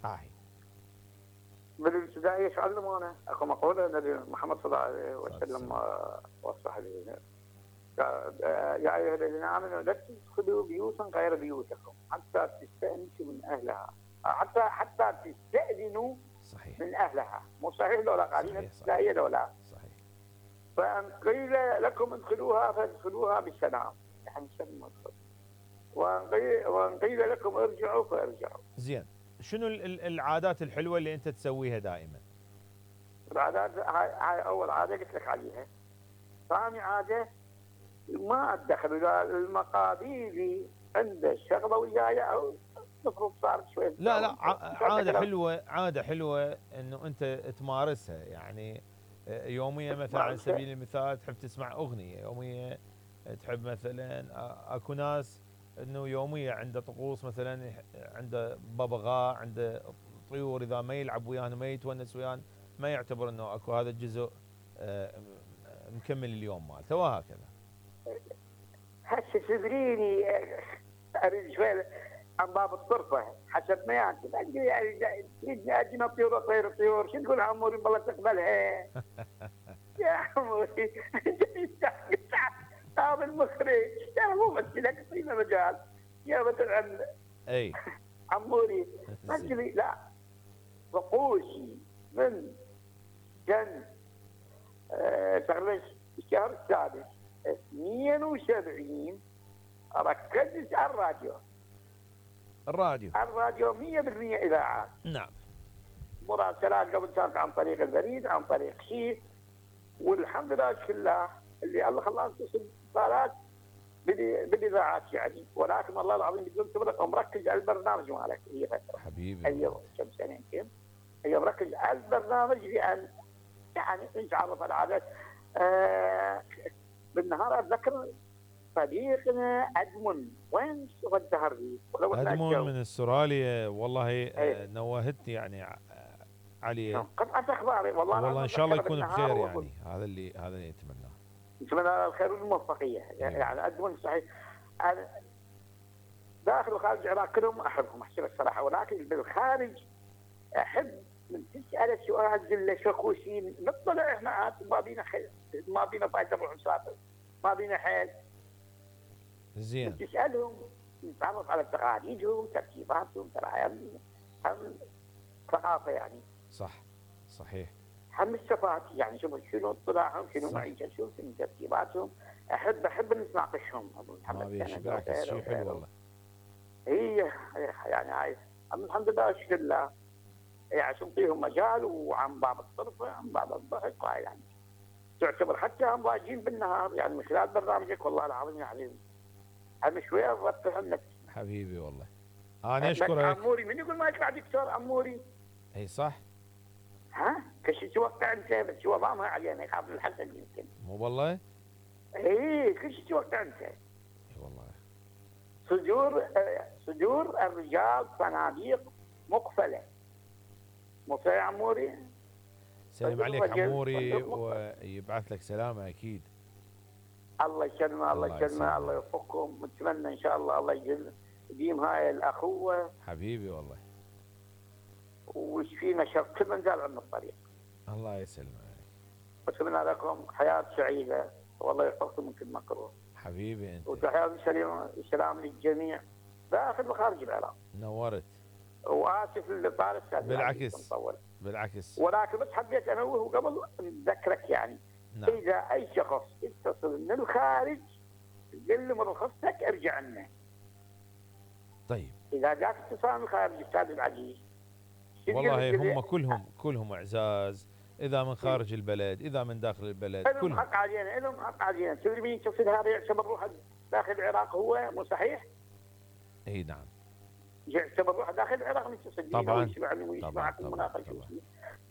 هاي بالابتدائيه شو علمونا؟ اكو مقوله النبي محمد صلى الله عليه وسلم وصح لي يا ايها الذين امنوا لا تدخلوا بيوتا غير بيوتكم حتى تستانسوا من اهلها، حتى تستاذنوا صحيح من اهلها، مو صحيح لو لا قاعدين الابتدائيه لو لا. صحيح. فان قيل لكم ادخلوها فادخلوها بالسلام، يعني سلموا وان قيل لكم ارجعوا فارجعوا. زين، شنو العادات الحلوه اللي انت تسويها دائما؟ العادات هاي اول عاده قلت لك عليها. ثاني عاده ما ادخل اذا المقابيلي عنده شغله وياي او المفروض صار شوي. لا عاده حلوه، عاده حلوه انه انت تمارسها، يعني يوميا مثلا على سبيل المثال تحب تسمع اغنيه يوميه، تحب مثلا اكو ناس انه يوميا عنده طقوس، مثلا عنده ببغاء، عنده طيور، اذا ما يلعب وياهن ما يتونس وياهن ما يعتبر انه اكو هذا الجزء مكمل اليوم مالته، وهكذا. هسه تدريني اريد شوي عن باب الطرفه حسب ما يعني تريدني اجي طيور طير الطيور، شو تقول عموري والله تقبلها؟ يا عموري هذا المخرج انا مو مثلك في مجال يا مثلا اي عموري مثلي لا طقوسي من كان تقريبا الشهر السادس 72 ركزت على الراديو 100% اذاعات. نعم. مراسلات قبل كانت عن طريق البريد، عن طريق شيء، والحمد لله كله اللي الله خلاه تصل اتصالات بالاذاعات يعني، ولكن والله العظيم بدون تبرك مركز على البرنامج مالك هي فتره حبيبي. ايوه كم سنه يمكن هي مركز على البرنامج لان يعني نتعرف على العادات. بالنهار اتذكر صديقنا ادمن وين الدهر لي ادمن من استراليا، والله نوهتني يعني علي قطعت اخباري والله ان شاء الله يكون بخير، يعني هذا اللي نتمناه. نتمنى الخير والموفقيه يعني ادمن صحيح. أنا داخل وخارج العراق كلهم احبهم احسن الصراحه، ولكن بالخارج احب من تسال سؤال زله شكوشين نطلع احنا عاد ما بينا فايده نروح نسافر، ما بينا حيل. زين. تسالهم نتعرف على تقاليدهم ترتيباتهم، ترى هم ثقافه يعني. صح صحيح. هم الثقافات يعني شنو اطلاعهم، شنو معيشتهم، شنو ترتيباتهم. احب نتناقشهم. ما بيشبعك شيء حلو والله. هي يعني هاي الحمد لله اشكر الله يعني نعطيهم مجال، وعن باب الطرفه عن باب الضحك هاي يعني تعتبر حتى هم واجين بالنهار يعني من خلال برنامجك والله العظيم يعني هم شويه افرح عنك حبيبي والله. انا اشكرك. عموري من يقول ما يطلع دكتور عموري؟ اي صح. ها كش توقع انت بس هو ضامها علينا يخاف من الحسد يمكن. مو والله؟ اي كش توقع انت؟ اي والله. صدور الرجال صناديق مقفله. مو يا عموري؟ سلام عليك عموري ويبعث لك سلامه اكيد. الله يسلمه الله يسلمه الله يوفقكم، ونتمنى ان شاء الله يديم هاي الاخوه حبيبي والله. ويشفينا شر كل من زال عنا الطريق. الله يسلمك. واتمنى لكم حياه سعيده والله يحفظكم من كل مكروه. حبيبي انت. وتحياتي سلام للجميع داخل وخارج العراق. نورت. واسف اللي طال السادس. بالعكس. ولكن بس حبيت انوه قبل نذكرك يعني. نعم. اذا اي شخص يتصل من الخارج قل له من رخصتك ارجع لنا. طيب. اذا جاك اتصال من الخارج استاذ العزيز. والله هم كلهم اعزاز، اذا من خارج البلد اذا من داخل البلد لهم حق علينا تدري مين يتصل هذا يعتبر روحه داخل العراق هو مو صحيح؟ اي نعم. يعتبر روحه داخل العراق متصل طبعا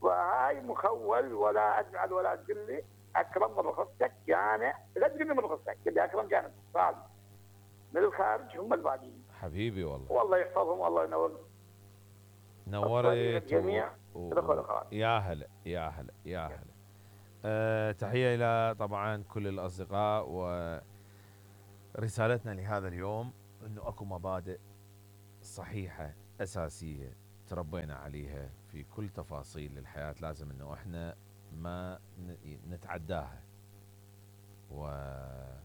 وهاي مخول ولا اجعل ولا تقول لي اكرم من رخصتك يعني لا تقول لي من رخصتك قل لي اكرم جانب اتصال من الخارج هم الباقيين. حبيبي والله يحفظهم والله ينور. نورت الجميع. يا هلا يا هلا يا هلا. تحية إلى طبعا كل الأصدقاء، ورسالتنا لهذا اليوم أنه أكو مبادئ صحيحة أساسية تربينا عليها في كل تفاصيل الحياة، لازم انه احنا ما نتعداها. واكو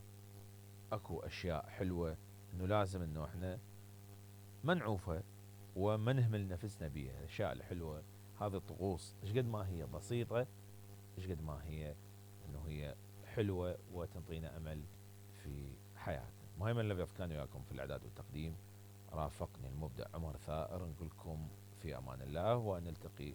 اشياء حلوة انه لازم انه احنا ما نعوفها وما نهمل نفسنا بيها. الاشياء الحلوة هذه الطقوس ايش قد ما هي بسيطة، ايش قد ما هي انه هي حلوة وتنطينا امل في حياتنا. مهم الذي كان وياكم في الاعداد والتقديم رافقني المبدع عمر ثائر، نقول لكم في امان الله ونلتقي